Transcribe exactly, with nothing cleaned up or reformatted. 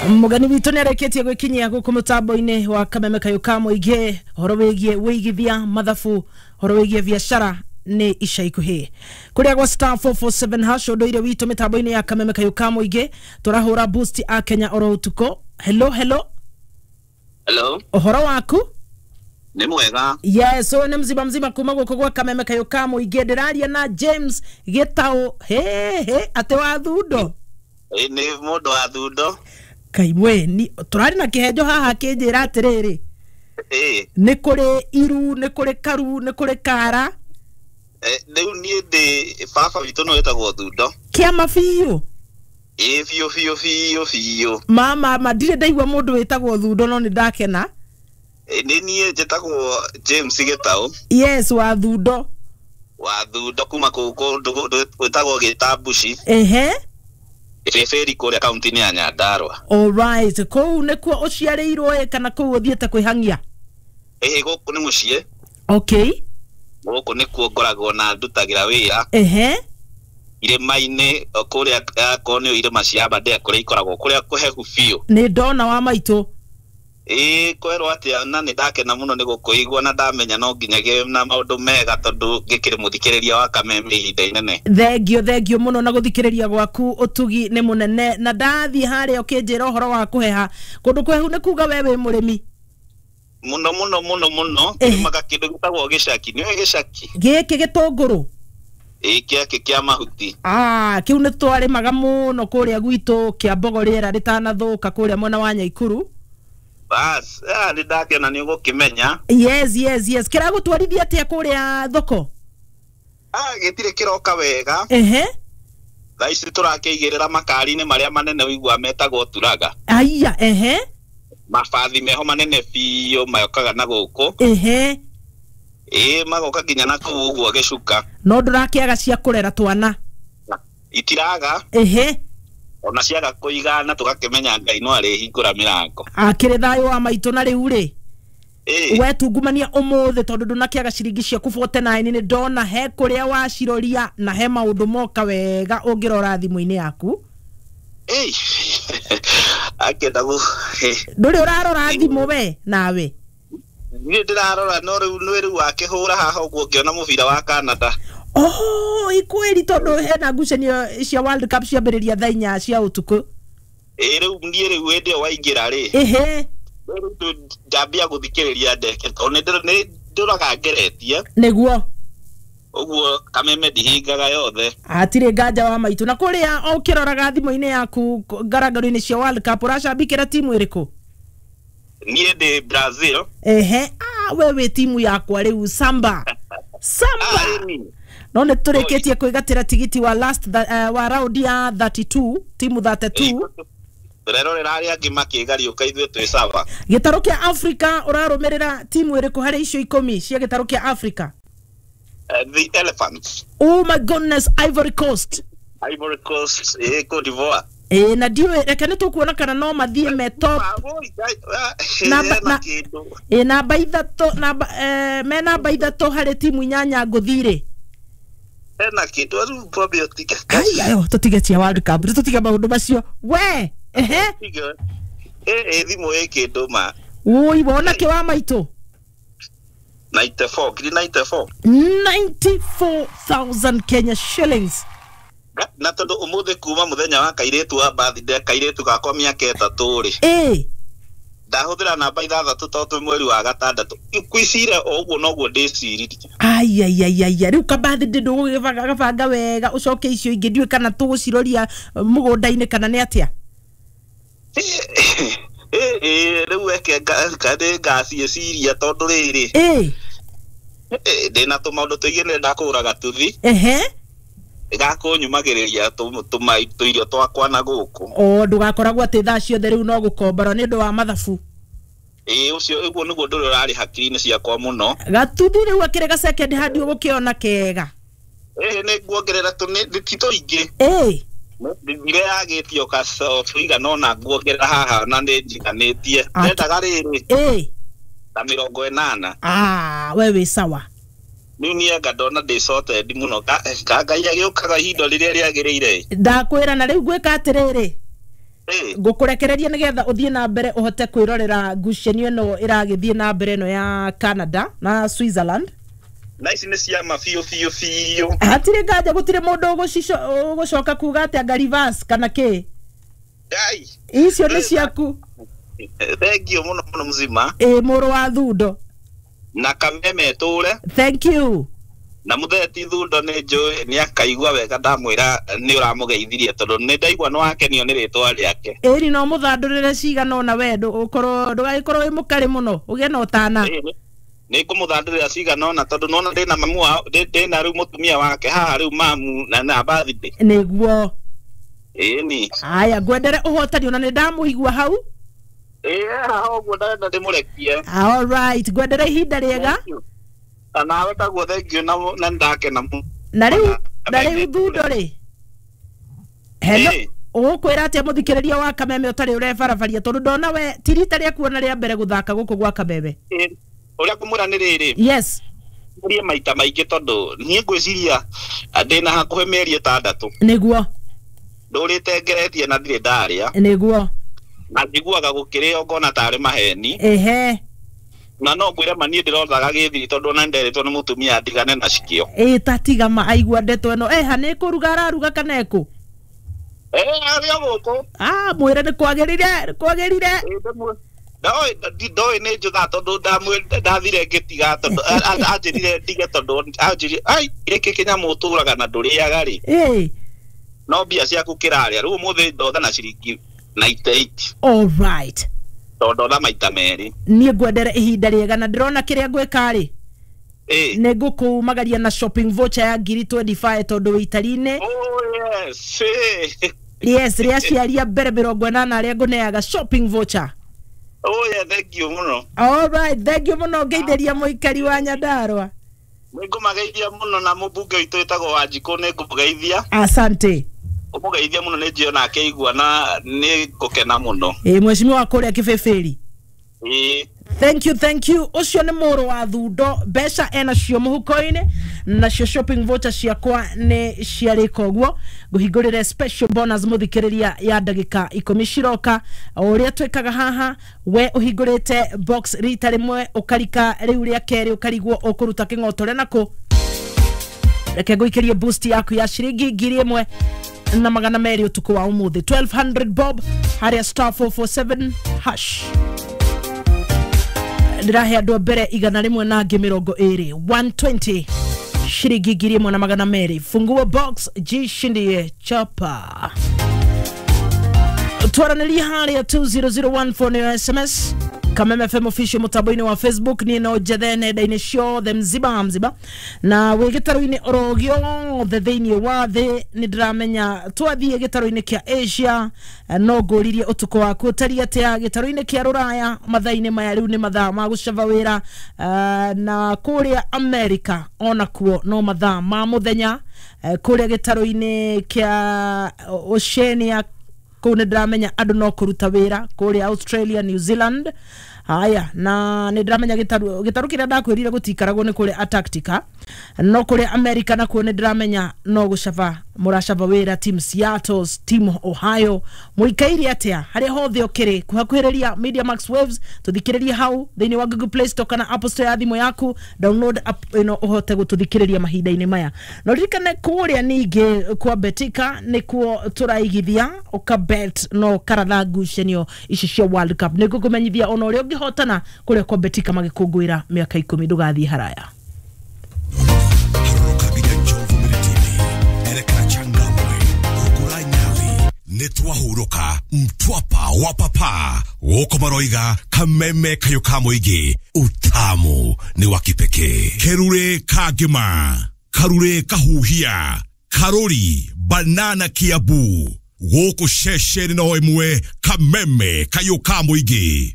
Mugeni witũ nĩ arĩkĩtie gwĩkinyia gũkũ mũtambo-inĩ wa Kameme Kayũ ka Mũingĩ, ũhoro wĩgiĩ wĩigithia mathabu, ũhoro wĩgiĩ biacara nĩ ica ikuhĩ kũrĩa gwa star four four seven hash. Ũndũire witũ mĩtambo-inĩ ya Kameme Kayũ ka Mũingĩ, tũrahũra boost a Kenya oro ũtukũ. Hello, hello. Hello. Ũhoro waku? Nĩ mwega. Yes, ũyũ nĩ mzima mzima kuma gũkũ gwa Kameme Kayũ ka Mũingĩ. Ndĩraria na James Gĩtaũ. He he, atĩ wa Thundo? Ĩ, nĩ mũndũ wa Thundo. Kaimwe ni tũrarĩ na kĩhenjo haha kĩnjĩra atĩrĩrĩ, Ĩ. nĩ kũrĩ iru, nĩ kũrĩ karu, nĩ kũrĩ kara. Eh, rĩu niĩ ndĩ baba witũ nĩ wĩtagwo Thundo. Kĩama biũ. Ĩ, biũ biũ biũ biũ. Mama, ma ndirĩ ndaigua mũndũ wĩtagwo Thundo, no nĩ ndakena. Ĩ, nĩ niĩ njĩtagwo James Gĩtaũ. Yes, wa Thundo. Wa Thundo kuma kũu kũndũ gwĩtagwo Gĩtambuci. Ehe. Ĩbĩbĩri kũrĩa kaunti-inĩ ya Nyandarua. All right, kũu nĩkuo ũciarĩirwo ĩ, kana kũu ũthiĩte kwĩhang'ia? Ĩ, gũkũ nĩ mũciĩ. Okay. Gũkũ nĩkuo ngoragwo na ndutagĩra wĩra. Ehe. Irĩma-inĩ kũrĩa, akorwo nĩ irĩma cia Aberdare kũrĩa ikoragwo kũrĩa kũhehu biũ. Nĩ ndona wa maitũ. Ĩ, kwerwo atĩa, na nĩ ndakena mũno nĩ gũkũigua na ndamenya no nginya na maũndũ mega tondũ ngĩkĩrĩ mũthikĩrĩria wa Kameme ihinda inene. Thengio, thengio mũno na gũthikĩrĩria gwaku, ũtugi nĩ mũnene. Na ndathiĩ harĩa ũkĩnjĩra ũhoro wa kũheha kũndũ kũhehu, nĩ kuga we wĩ mũrĩmi? Mũno mũno mũno mũno. Tũrĩmaga kĩndũ gĩtagwo gĩcaki. Nĩũĩ gĩcaki? Gĩkĩ gĩtũngũrũ? Ĩ, gĩakĩ kĩa mahuti. Ah, kĩu nĩ twarĩmaga mũno kũrĩa gwitũ kĩa Mbogo rĩera rĩtanathũka kũrĩa mwena wa Nyaikuru. Bas, ah, nĩ ndakena nĩ ũgũkĩmenya. Yes, yes, yes. Kĩragũtwarithia atĩa kũrĩa thoko? Ah, gĩtirĩ kĩroka wega. Ehe. Thaa ici tũrakĩigĩrĩra makari-inĩ marĩa manene ũiguaga metagwo turaga. Aya, ehe. Mabathi meho manene biũ mayokaga na gũkũ. Ehe. Ĩ, magoka nginya na kũu ũguo gĩcuka. No ndũrakĩaga cia kũrera twana? Itiraga. Ehe. Ona ciaga kũigana tũgakĩmenya Ngai no arĩhingũra mĩrango. Akĩrĩ thayũ wa maitũ. Na rĩu rĩ, Ĩ. we tungumania ũmũthĩ tondũ ndũnakĩaga ciringi ciaku forty-nine, nĩ ndona he kũrĩa waciroria na he maũndũ moka wega ũngĩrora thimũ-inĩ yaku. Ĩ. Akĩenda gũ Ndũrĩ ũrarora thimũ we nawe? Niĩ ndĩrarora, no rĩu nĩ rĩu wakĩhũra haha ũguo ngĩona mũbira wa Canada. Oh, ikwĩri tondũ hena ngucanio cia World Cup ciambĩrĩria thaa inya cia ũtukũ. Ĩ, rĩu niĩ rĩu hĩndĩ ĩyo waingĩra rĩ. Ehe. Rĩu ndambia gũthikĩrĩria ndeke tondũ nĩ ndũraga ngeretie. Nĩguo. Ũguo Kameme ndihingaga yothe. Hatirĩ nganja wa maitũ. Na kũrĩa ũkĩroraga thimũ-inĩ yaku ngarangaro-inĩ cia World Cup, ũracambikĩra timu ĩrĩkũ? Niĩ ndĩ Brazil. Ehe, ah, we wĩ timu yakwa rĩu, Samba. Samba. Ah, ĩni. No nĩ tũrĩkĩtie kwĩgatĩra tigiti wa last uh, wa round ya thirty-two, timu thirty-two. Tũrerorera arĩa angĩ makĩgariũka, ithuĩ twĩ sawa. Gĩtarũ kĩa Africa, ũrarũmĩrĩra timu ĩrĩkũ harĩ icio ikũmi cia gĩtarũ kĩa Africa? Uh, the Elephants. Oh my goodness, Ivory Coast. Ivory Coast, eh, Cote d'Ivoire. Ĩ, na ndiũĩ, reke nĩ tũkuona kana no mathiĩ me top. Namba na kĩndũ. Ĩ, namba ithatũ, namba eh, me namba ithatũ harĩ timu inyanya ngũthi-rĩ. Hena kĩndũ rĩu twambe ũtige. Ai, ayo tũtige cia World Cup, tũtige maũndũ macio we. Ehe. Ĩ, ĩ, thimũ ĩ kĩndũ ma. Ui, wona kĩ wa maitũ? ninety-four, ngiri ninety-four. ninety-four thousand Kenya shillings. Na tondũ ũmũthĩ kuma mũthenya wa kairĩtu wa birthday, kairĩtu gakwa mĩaka ĩtatũ rĩ. Ĩ. Ndahũthĩra namba ithathatũ tondũ twĩ mweri wa gatandatũ. Ngwĩciria o ũguo noguo ndĩciririe. Ai, ai, ai, ai, ai, rĩu ka birthday ndũgũgĩbanga wega ũcoke icio ingĩ ndiũĩ kana tũgũciroria mũgũnda-inĩ kana nĩ atĩa? Ĩ, ĩ, rĩu eke nĩ ngaciĩciria tondũ rĩrĩ. Ĩ. Ndĩna tũmaũndũ tũingĩ, nĩ ndakũgũra gatuthi. Ehe. Gakũnyumagĩrĩria tũirio twakwa na gũkũ. O ndũgakoragwo atĩ thaa ciothe rĩu no gũkombora nĩ ũndũ wa mathabu. Ĩ, ũcio ũguo nĩguo ũndũ ũrĩa ũrarĩ hakiri-inĩ ciakwa mũno. Gatuthi rĩu akĩrĩ ga second hand ũgũkĩona kega. Ĩ, nĩ nguongerera tũ ti tũingĩ. Ĩ. Ndire yagĩtio tũigana ũna nguongerera haha na nĩ njiganĩtie. Ndendaga rĩrĩ. Ĩ. Ta mĩrongo ĩnana. Ah, we wĩ sawa. Rĩu niĩ anga ndona ndĩ sorted mũno, ka Ngai agĩũkaga ihinda rĩrĩa rĩagĩrĩire. Ndakwĩra na rĩu ngwĩka atĩrĩrĩ. Ngũkũrekereria nĩgetha ũthiĩ na mbere ũhote kwĩrorera ngucanio ĩno ĩragĩthiĩ na mbere ĩno ya Canada na Switzerland. Na ici nĩ ciama biũ biũ biũ. Hatirĩ nganja gũtirĩ mũndũ ũgũcoka kuga atĩ anga reverse kana kĩ. Ngai. Icio nĩ ciaku. Thank you mũno mũno mzima. Ĩ mũrũ wa Thundo. Na Kameme tũre. Thank you. Na mutheti Thundo nĩ njũĩ nĩ akaigua wega ndamwĩra nĩ ũramũgeithirie tondũ nĩ ndaigua nĩ wakenio nĩ rĩtwa rĩake. Ĩri no mũthandũrĩre cigana ona we ũkorwo ndũgagĩkorwo wĩ mũkarĩ mũno ũgĩe na ũtana. Nĩ ngũmũthandũrĩra cigana ona tondũ nona ndĩna mamu wao ndĩna rĩu mũtumia wake haha rĩu mamu na na birthday. Nĩguo. Ĩni. Aya ngwendere ũhotani ona nĩ ndamũigua hau. Ĩĩ haha ũguo ndenda ndĩmũrekie. All right, ngwendere ihinda rĩega. Nawe taguo thank you na na ndakena mũno. Na rĩu na rĩu Thundo rĩ. Hello. Ũgũkwĩra atĩa mũthikĩrĩria wa Kameme ũtarĩ ũrebarabaria tondũ ndona we ti rita rĩaku ona rĩa mbere gũthaka gũkũ gwa Kameme. Ũrĩa ngũmwĩra nĩ rĩrĩ. Yes. Ngũrie maita maingĩ tondũ niĩ ngwĩciria ndĩna hakuhĩ mĩeri ĩtandatũ. Nĩguo. Ndũrĩte ngeretie na ndirĩ ndarĩa. Nĩguo. Na njiguaga gũkĩrĩo ngona tarĩ maheni. Ehe. Na no ngwĩre ma niĩ ndĩrothaga gĩthiri tondũ ona nĩnderĩtwo nĩ mũtumia ndigane na cikio. Ĩ ta tiga ma aigua ndeto ĩno. Eha nĩ kũruga araruga kana ekũ? Ĩ arĩ o gũkũ. Ah mwĩre nĩ kwagĩrire kwagĩrire. Ndoĩ ndoĩ nĩ njũtha tondũ ndathire ngĩtiga tondũ anjĩrire ndige tondũ anjĩrire ai gĩkĩ kĩnyamũ ũtũraga na ndũrĩaga rĩ. Ĩ. No mbia ciaku kĩrarĩa rĩu ũmũthĩ ndotha na ciringi ninety-eight. All right. Tondũ ndotha maita merĩ. Niĩ ngwendere ihinda rĩega na ndĩrona kĩrĩa ngwĩka rĩ. Ĩ. Nĩ ngũkũmagaria na shopping voucher ya ngiri twenty-five tondũ wĩ itari-inĩ. Oh yes. Yes, rĩa aciari a mbere mĩrongo ĩnana arĩa ngũneaga shopping voucher. Oh yeah, thank you mũno. All right, thank you mũno ngeithĩria mũikari wa Nyandarua. Nĩ ngũmageithia mũno na mũmbunge witũ wĩtagwo Wanjikũ nĩ ngũmũgeithia. Asante. Ũmũgeithia mũno nĩ njĩona akĩigua na nĩ ngũkena mũno. Ĩ mheshimiwa kũrĩa Kĩbĩbĩri. Ĩ. Thank you, thank you. Ũcio nĩ mũrũ wa Thundo mbeca ena cio mũhuko-inĩ nacio shopping voucher ciakwa nĩ ciarĩka ũguo. Ngũhingũrĩre special bonus mũthikĩrĩria ya ndagĩka ikũmi ciroka. O ũrĩa twĩkaga haha we ũhingũrĩte box rita rĩmwe ũkarika rĩu rĩa kerĩ ũkarigwo ũkũruta kĩng'otore nakũ. Reke ngũikĩrie boost yaku ya ciringi ngiri ĩmwe na magana merĩ ũtukũ wa ũmũthĩ twelve hundred bob harĩa star four four seven hash. Ndĩrahe andũ a mbere igana rĩmwe na angĩ mĩrongo ĩrĩ one twenty ciringi ngiri ĩmwe na magana merĩ. Funguo box jishindie chapa. Twaranĩrie harĩa two zero zero one four nĩyo S M S. Kameme F M official mũtambo-inĩ wa Facebook niĩ no njethe nenda-inĩ ciothe mzima mzima na wĩ gĩtarũ-inĩ oro gĩothe thĩinĩ wa thĩ nĩ ndĩramenya twathiĩ gĩtarũ-inĩ kĩa Asia no ngũririe ũtukũ waku ũtariĩ atĩa gĩtarũ-inĩ kĩa Rũraya mathaa-inĩ maya rĩu nĩ mathaa ma gũcaba wĩra na kũrĩa America onakuo no mathaa ma mũthenya kũrĩa gĩtarũ-inĩ kĩa Oceania kũu nĩ ndĩramenya andũ no kũruta wĩra kũrĩa Australia, New Zealand. Haya na nĩ ndĩramenya gĩtarũ gĩtarũ kĩrĩa ndakwĩrire gũtikaragwo nĩ kũrĩa Antarctica no kũrĩa America nakuo nĩ ndĩramenya no gũcaba mũracaba wĩra team Seattle, team Ohio. Mũikaire atĩa harĩa hothe ũkĩrĩ kuhakuhĩrĩria Media Max Waves tũthikĩrĩrie hau thĩinĩ wa Google Play Store kana Apple Store ya thimũ yaku download app ĩno ũhote gũtũthikĩrĩria mahinda-inĩ maya. No ririkane kũrĩa ningĩ kwa Betika nĩkuo tũraigithia ũkabet no karatha ngucanio ici cia World Cup. Nĩ ngũkũmenyithia ona ũrĩa ũngĩhotana kũrĩa kwa Betika magĩkũngũĩra mĩaka ikũmi ndũgathiĩ haraya. Nitwahuruka mtwapa wa papa woko maroiga Kameme kayo ka mũingĩ utamu ni wa kipekee. Kerure kagima karure kahuhia karori banana kiabu gũkũ ceceni no ĩmwe Kameme kayo ka mũingĩ.